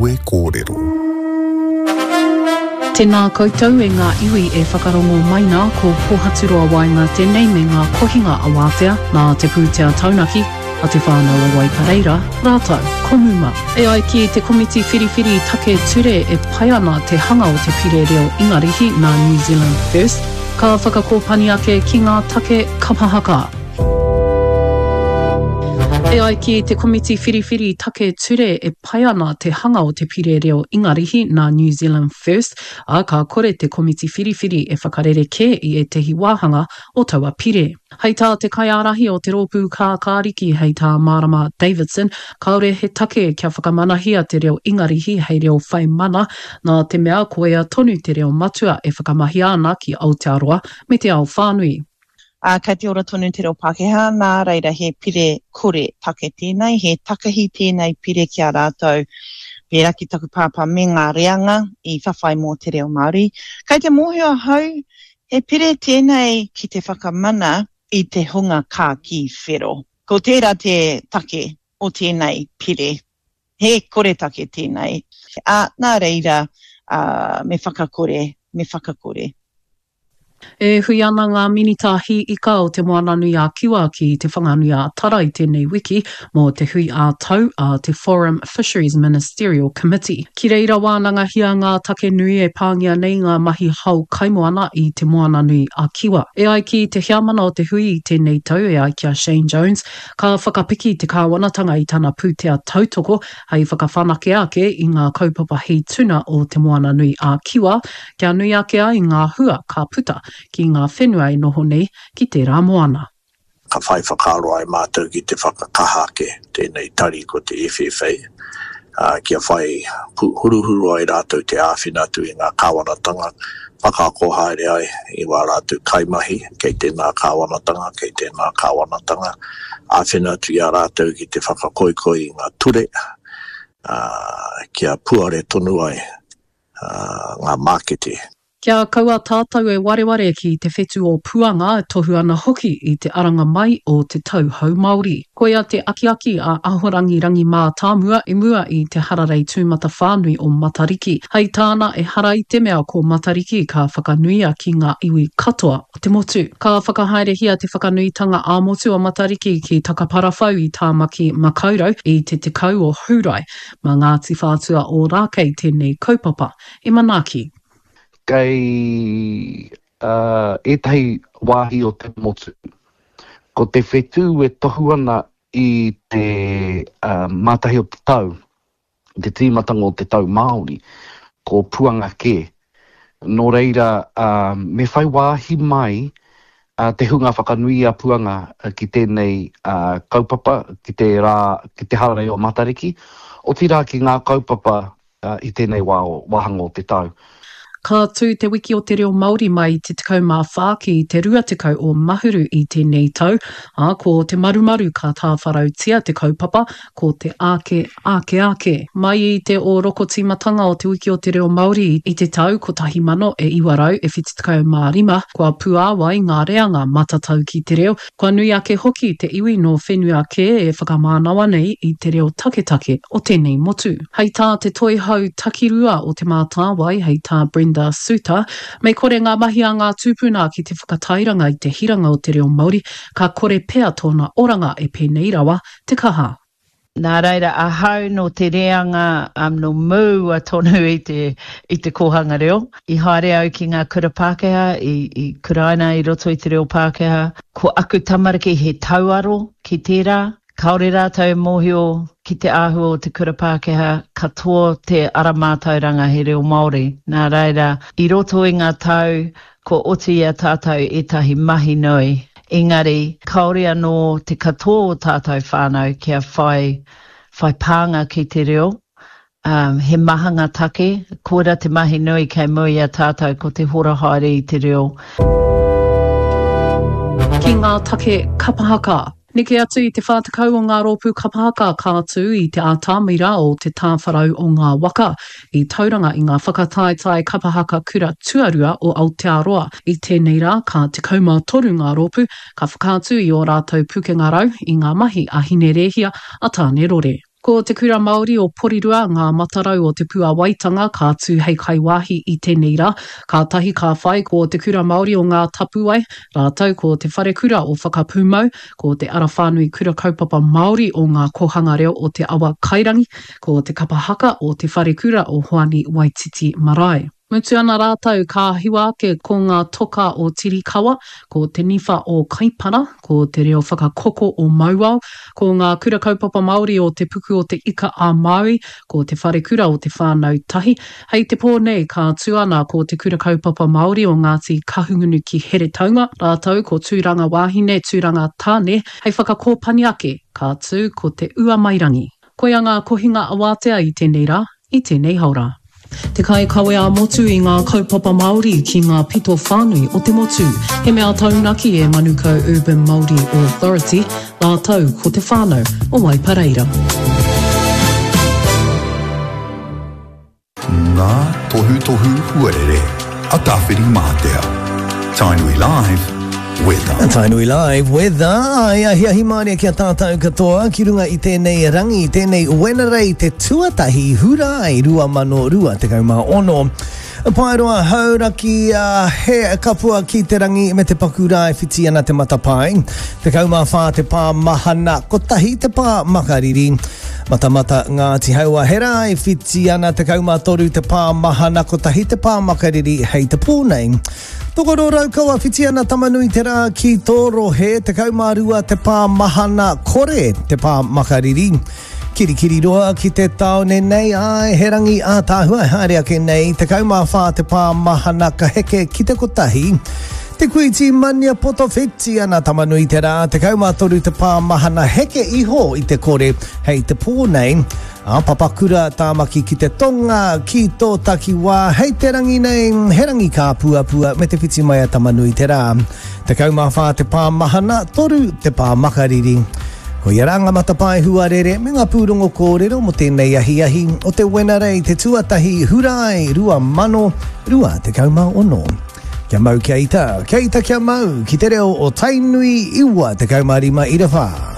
Kawe Kōrero. Tēnā koutou e ngā iwi e whakarongo mai nā, ko Pōhaturoa Waenga tēnei me ngā kohinga awātea nā te pūtea taunaki a Te Whānau o Waipareira rātou ko Muma. E ai ki te Komiti Whiriwhiri Take Ture e pai ana te hanga o te pire reo Ingarihi nā New Zealand First, ka whakakōpani ake ki ngā take kapa haka. E ai ki te Komiti Whiriwhiri Take Ture e pai ana te hanga o te pire reo Ingarihi nā New Zealand First, ā, ka kore te Komiti Whiriwhiri e whakarerekē i ētehi wāhanga o taua pire. Hei tā te kaiārahi o te Rōpū Kākāriki, hei tā Marama Davidson, kāore he take kia whakamanahia te reo Ingarihi hei reo whai mana, nā te mea koia tonu te reo matua e whakamahia ana ki Aotearoa me te ao whānui. Ā, kei te ora tonu te reo Pākehā, nā reira he pire kore take tēnei, he takahi tēnei pire ki a rātou, pērā ki taku pāpā me ngā reanga i whawhai mō te reo Māori. Kei te mōhio ahau, he pire tēnei ki te whakamana i te hunga kākī whero. Ko tērā te take o tēnei pire. He koretake tēnei, ā, nā reira, ā, me whakakore, me whakakore. E hui ana ngā Minita Hī Ika o Te Moananui-a-Kiwa ki Te Whanganui-a-Tara i tēnei wiki mō te hui ā-tau a te Forum Fisheries Ministerial Committee. Ki reira wānangahia ngā take nui e pāngia nei ngā mahi hao kaimoana i Te Moananui-a-Kiwa. E ai ki te heamana o te hui i tēnei tau e ai ki a Shane Jones, ka whakapiki te kāwanatanga i tana pūtea tautoko hei whakawhanake ake i ngā kaupapa hī tuna o Te Moananui-a-Kiwa kia nui ake ai ngā hua ka puta ki ngā whenua e noho nei ki tērā moana. Ka whai whakaaro ai mātou ki te whakakaha ake tēnei tari ko te FFA, ā, kia whai huruhuru ai rātou te āwhina atu i ngā kāwanatanga, whakaako haere ai i wā rātou kaimahi kei tēnā kāwanatanga, kei tēnā kāwanatanga, āwhina atu i a rātou ki te whakakoikoi i ngā ture, ā, kia puare tonu ai ngā mākete. Kia kaua tātou e wareware ki te whetū o Puanga e tohu ana hoki i te aranga mai o te tau hou Māori. Koia te akiaki a Ahorangi Rangi Mātāmua i mua i te hararei tūmatawhānui o Matariki. Hei tāna, ehara i te mea ko Matariki ka whakanuia ki ngā iwi katoa o te motu. Ka whakahaerehia te whakanuitanga ā-motu o Matariki ki Takaparawhau i Tāmaki Makaurau i te 10 o Hūrae. Mā Ngāti Whātua Ōrākei tēnei kaupapa e manaaki. Kei ētahi wāhi o te motu, ko te whetū e tohu ana i te mātahi o te tau, i te tīmatanga o te tau Māori, ko Puanga kē. Nō reira, me whai wāhi mai te hunga whakanui i a Puanga ki tēnei kaupapa, ki te rā, ki te hararei o Matariki, otirā ki ngā kaupapa i tēnei wā, wāhanga o te tau. Ka tū Te Wiki o te Reo Māori mai i te 14 ki te 20 o Mahuru i tēnei tau, ā, ko te marumaru ka tāwharautia te kaupapa, ko te Āke, Āke, Āke. Mai i te ōrokotīmatanga o Te Wiki o te Reo Māori i te tau 1975, kua puāwai ngā reanga matatau ki te reo, Kua nui ake hoki te iwi nō whenua kē e whakamānawa nei i te reo taketake o tēnei motu. Hei tā te Toihau Takirua o Te Mātāwai, hei tā Brenda Suter, me kore ngā mahi a ngā tūpuna ki te whakatairanga i te hiranga o te reo Māori, ka kore pea tōna oranga e pēnei rawa te kaha. Nā reira, ahau nō te reanga nō mua tonu i te, i te kōhanga reo. I haere au ki ngā kura Pākehā, i, i kuraina i roto i te reo Pākehā. Ko aku tamariki he tauaro ki tērā. Kāore rātou e mōhio ki te āhua o te kura Pākehā, katoa te ara mātauranga he reo Māori. Nā reira, i roto i ngā tau, Kua oti i a tātou ētahi mahi nui, engari kāore anō te katoa o tātou whānau kia whai whai pānga ki te reo. Um, he maha ngā take, koira te mahi nui kei mua i a tātou ko te hora haere i te reo. Ki ngā take kapa haka. Neke atu i te 40 o ngā rōpū kapa haka ka tū i te atamira o Te Tāwharau o Ngā Waka i Tauranga i ngā whakataetae kapa haka kura tuarua o Aotearoa. I tēnei rā, ka 13 ngā rōpū ka whakaatu i ō rātou pukenga rau i ngā mahi a Hine Rēhia, a Tāne Rore. Ko Te Kura Māori o Porirua ngā matarau o Te Puawaitanga ka tū hei kaiwāhi i tēnei rā. Kātahi ka whai ko Te Kura Māori o Ngā Tapuwae, rātou ko Te Wharekura o Whakapūmau, ko Te Ara Whānui Kura Kaupapa Māori o Ngā Kōhanga Reo o Te Awa Kairangi, ko Te Kapa Haka o Te Wharekura o Hoani Waititi Marae. Mutu ana rātou ka hiwa ake ko ngā toka o Tirikawa, ko te niwha o Kaipara, ko te reo whakakoko o Mauao, ko ngā kura kaupapa Māori o Te Puku o Te Ika a Māui, ko Te Wharekura o Te Whānau Tahi. Hei te pō nei ka tū ana ko Te Kura Kaupapa Māori o Ngāti Kahungunu ki Heretaunga, rātou ko Tūranga Wāhine, Tūranga Tāne, hei whakakōpani ake ka tū ko Te Uamairangi. Koia ngā kohinga awātea i tēnei rā, i tēnei haora. Te kaikawe ā-motu i ngā kaupapa Māori ki ngā pito whānui o te motu. He mea taunaki e Manukau Urban Māori Authority rātou ko te whānau o Waipareira. Ngā tohutohu huarere a Tāwhirimātea. Tainui Live, Weather. Tainui Live, Weather, ai ahiahi mārie ki a tātou katoa ki runga i tēnei rangi, tēnei Wenerei te tuatahi Hurae 2026. Paeroa Hauraki, he kapua ki te rangi me te paku rā e whiti ana te matapae. 14 te pā mahana, kotahi te pā makariri. Matamata Ngāti Haua, he rā e whiti ana, 13 te pā mahana, kotahi te pā makariri hei te pō nei. Tokoro Raukawa whiti ana Tamanui te rā ki tō rohe, 12 te pā mahana, kore te pā makariri. Kirikiriroa ki te tāone nei, āe, he rangi ātaahua e haere ake nei, 14 te pā mahana ka heke ki te kotahi. Te Kuiti Maniapoto whiti ana Tamanui te rā, 13 te pā mahana heke iho i te kore hei te pō nei. Ā, Papakura Tāmaki ki te tonga, ki tō takiwā, hei te rangi nei, he rangi kāpuapua me te whiti mai a Tamanui te rā. 14 te pā mahana, 3 te pā makariri. Koia rā ngā matapae huarere me ngā pūrongo kōrero mō tēnei ahiahi o te Wenerei te tuatahi Hurae 2026. Kia mau kia ita, kia ita kia mau, ki te reo o Tainui 95 ira whā.